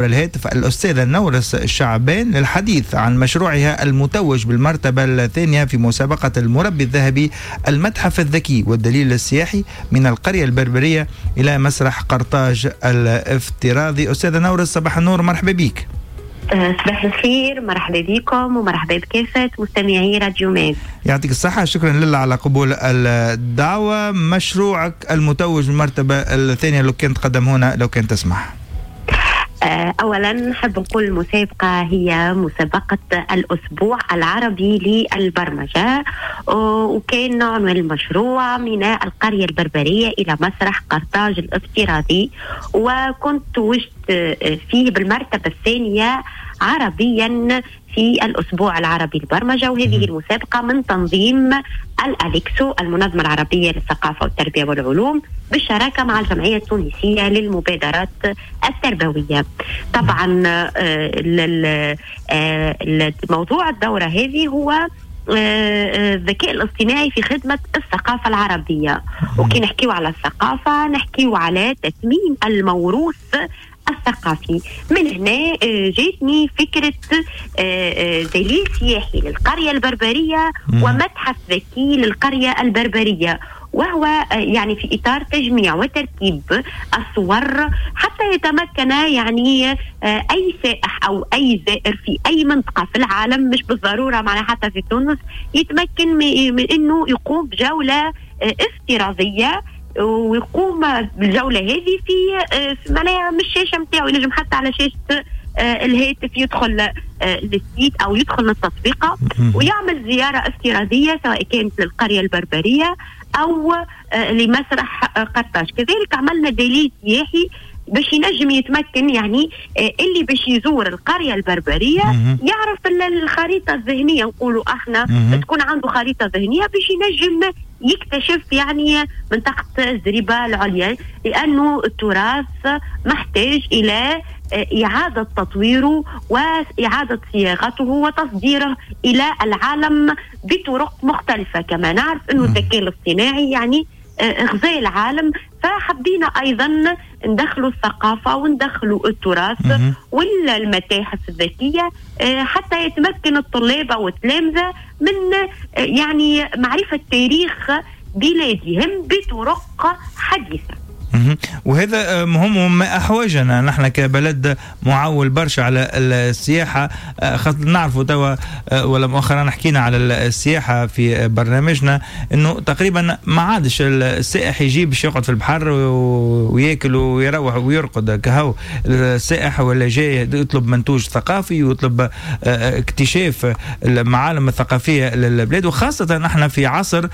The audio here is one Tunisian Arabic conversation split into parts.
الهاتف الأستاذة نورس الشعبان للحديث عن مشروعها المتوج بالمرتبة الثانية في مسابقة المربي الذهبي المتحف الذكي والدليل السياحي من القرية البربرية إلى مسرح قرطاج الافتراضي. أستاذة نورس، صباح النور، مرحبا بك. صباح الخير، مرحبا بكم ومرحبا بكافة مستمعي راديو ماد. يعطيك الصحة، شكرا لله على قبول الدعوة. مشروعك المتوج بالمرتبة الثانية لو كان تقدم هنا لو كان تسمح. أولا نحب نقول المسابقة هي مسابقة الأسبوع العربي للبرمجة، وكان عنوان المشروع من القرية البربرية إلى مسرح قرطاج الافتراضي، وكنت توجت فيه بالمرتبة الثانية عربيا في الأسبوع العربي للبرمجة. وهذه المسابقة من تنظيم الأليكسو المنظمة العربية للثقافة والتربية والعلوم بالشراكة مع الجمعية التونسية للمبادرات التربوية. طبعا موضوع الدورة هذه هو الذكاء الاصطناعي في خدمة الثقافة العربية. وكي نحكيو على الثقافة نحكيو على تثمين الموروث الثقافي. من هنا جاتني فكرة دليل سياحي للقرية البربرية ومتحف ذكي للقرية البربرية، وهو يعني في إطار تجميع وتركيب الصور حتى يتمكن يعني أي سائح أو أي زائر في أي منطقة في العالم، مش بالضرورة معنا حتى في تونس، يتمكن من أنه يقوم بجولة افتراضية، ويقوم بالجولة هذه في معناها من الشاشة نتاعو، ينجم حتى على شاشة الهاتف يدخل لل site أو يدخل للتطبيقة ويعمل زيارة افتراضية سواء كانت للقرية البربرية أو لمسرح قرطاج. كذلك عملنا دليل سياحي باش ينجم يتمكن يعني اللي باش يزور القرية البربرية يعرف الخريطة الذهنية، نقولوا احنا تكون عنده خريطة ذهنية باش ينجم يكتشف يعني منطقة الزريبة العليا، لأنه التراث محتاج إلى إعادة تطويره وإعادة صياغته وتصديره إلى العالم بطرق مختلفة. كما نعرف أنه الذكاء الاصطناعي يعني غزا العالم، فحبينا أيضا ندخلوا الثقافة وندخلوا التراث والمتاحف الذكية حتى يتمكن الطلاب أو التلامذة من يعني معرفة تاريخ بلادهم بطرق حديثة. وهذا مهم وما أحوجنا نحن كبلد معول برشا على السياحة، خاطر نعرفوا توا ولا مؤخرا حكينا على السياحة في برنامجنا انه تقريبا ما عادش السائح يجي باش يقعد في البحر وياكل ويروح ويرقد كهو. السائح ولا جاي يطلب منتوج ثقافي ويطلب اكتشاف المعالم الثقافية للبلاد، وخاصة نحن في عصر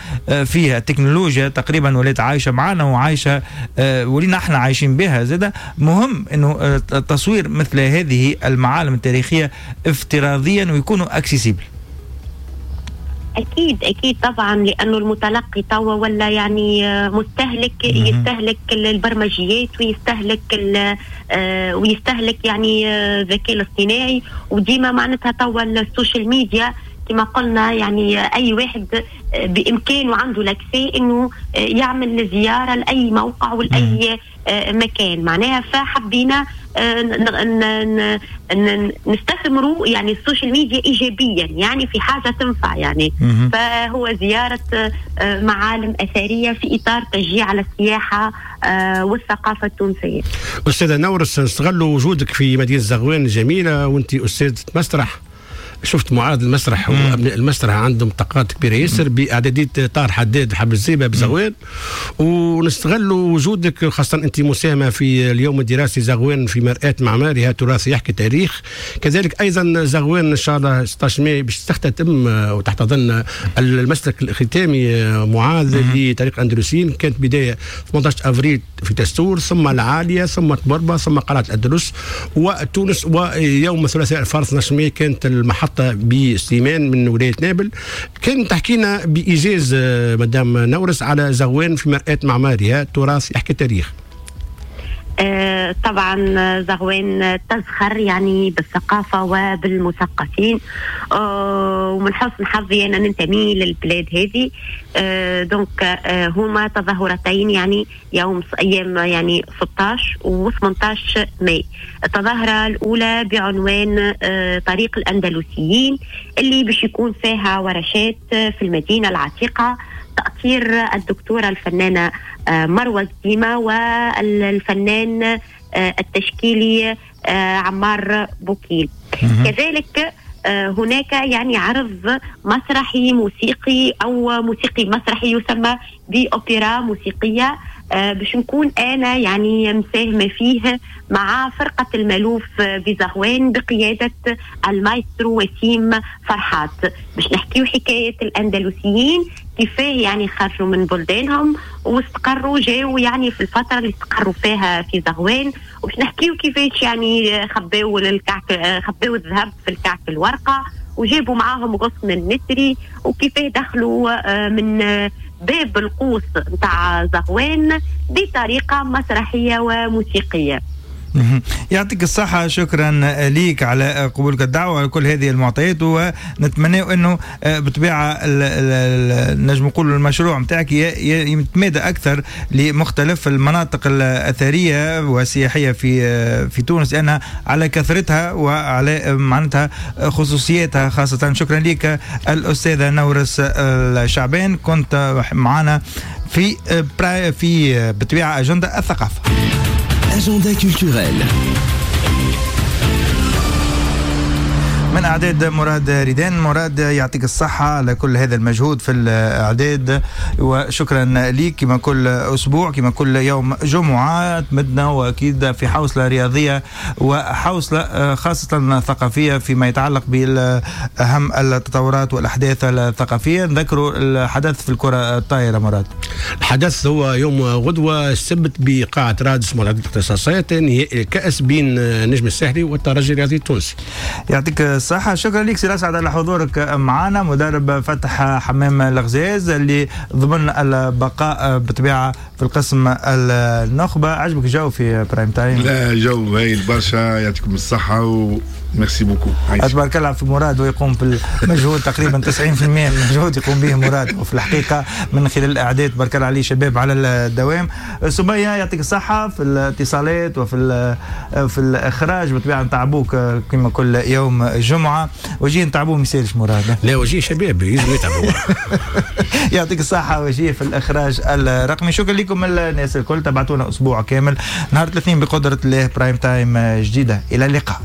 فيها التكنولوجيا تقريبا ولات عايشة معنا وعايشة ولينا احنا عايشين بها. زاده مهم انه تصوير مثل هذه المعالم التاريخية افتراضيا ويكونوا accessibles. اكيد اكيد طبعا، لانه المتلقي توا ولا يعني مستهلك، يستهلك البرمجيات ويستهلك ويستهلك يعني الذكاء الاصطناعي، وديما معناتها توا ال social media كما قلنا يعني اي واحد بامكانه عنده l'accès انه يعمل زيارة لاي موقع ولاي مكان معناها. فحبينا نستثمروا يعني ال social media ايجابيا، يعني في حاجة تنفع يعني. فهو زيارة معالم اثرية في اطار تشجيع على السياحة والثقافة التونسية. استاذه نورس، نستغلوا وجودك في مدينة زغوان الجميلة وانت استاذه مسرح. شفت معارض المسرح وابناء المسرح عندهم طاقات كبيرة ياسر باعداديه طار حداد حب الزيبه بزغوان، ونستغلوا وجودك خاصة انت مساهمة في اليوم الدراسي زغوان في مرآة معمارها تراث يحكي تاريخ. كذلك ايضا زغوان ان شاء الله 16 ماي باش تختتم وتحتضن المسلك الختامي معاذ لطريق اندلسيين. كانت بداية 18 افريل في تستور، ثم العالية، ثم طبربه، ثم قلعه الاندلس وتونس، ويوم الثلاثاء الفارس 12 ماي كانت المحطة بسليمان من ولاية نابل. كان تحكينا بإيجاز مدام نورس على زغوان في مرآة معمارها تراث يحكي تاريخ. طبعا زغوان تزخر يعني بالثقافة وبالمثقفين، ومن حسن حظي أنا ننتمي للبلاد هذه. donc هما تظاهرتين يعني يوم أيام يعني 16 و 18 ماي. التظاهرة الأولى بعنوان طريق الأندلسيين، اللي باش يكون فيها ورشات في المدينة العتيقة، تأطير الدكتورة الفنانة مروة الديمة والفنان التشكيلي عمار بوكيل. كذلك هناك يعني عرض مسرحي موسيقي أو موسيقي مسرحي يسمى بأوبرا موسيقية، باش نكون أنا يعني مساهمة فيه مع فرقة المالوف بزغوان بقيادة المايسترو وسيم فرحات، باش نحكيو حكاية الأندلسيين كيفاه يعني خرجوا من بلدانهم واستقروا، جاوا يعني في الفترة اللي استقروا فيها في زغوان، وباش نحكيو كيفاش يعني خباو الكعك، خباو الذهب في الكعك الورقة وجابوا معاهم غصن النسري، وكيفاه دخلوا من باب القوس نتاع زغوان بطريقة مسرحية وموسيقية. يعطيك الصحة، شكرا ليك على قبولك الدعوة وعلى كل هذه المعطيات، ونتمنى انه بطبيعة نجم نقول المشروع نتاعك يتمادى اكثر لمختلف المناطق الاثرية والسياحية في تونس، لانها على كثرتها وعلى معناتها خصوصياتها خاصة. شكرا لك الأستاذة نورس الشعبان، كنت معنا في بطبيعة أجندة الثقافة. Agenda culturel. من أعداد مراد ريدان. مراد يعطيك الصحة على كل هذا المجهود في الأعداد، وشكرا ليك كما كل أسبوع كما كل يوم جمعة تمدنا، وأكيد في حوصلة رياضية وحوصلة خاصة ثقافية فيما يتعلق بأهم التطورات والأحداث الثقافية. نذكروا الحدث في الكرة الطائرة مراد. الحدث هو يوم غدوة السبت بقاعة رادس ملعب الاختصاصات، نهائي الكأس بين نجم الساحلي والترجي الرياضي التونسي. يعطيك الصحة، شكرا لك سي أسعد على حضورك معنا، مدرب فتح حمام الغزاز اللي ضمن البقاء بطبيعة في القسم النخبة. عجبك الجو في prime time؟ لا جو هايل برشا، يعطيكم الصحة و merci beaucoup. تبارك الله في مراد، ويقوم بالمجهود تقريبا 90% من المجهود يقوم به مراد، وفي الحقيقة من خلال الأعداد تبارك الله عليه شباب على الدوام. سمية يعطيك الصحة في الاتصالات وفي في الإخراج، بطبيعة نتعبوك كما كل يوم جمعة. وجيه نتعبوه ما يسالش مراد؟ لا وجيه شباب يجوا يتعبوا. يعطيك الصحة وجيه في الإخراج الرقمي. شكرا لكم الناس الكل، تبعتونا أسبوع كامل، نهار الاثنين بقدرة الله prime time جديدة. إلى اللقاء.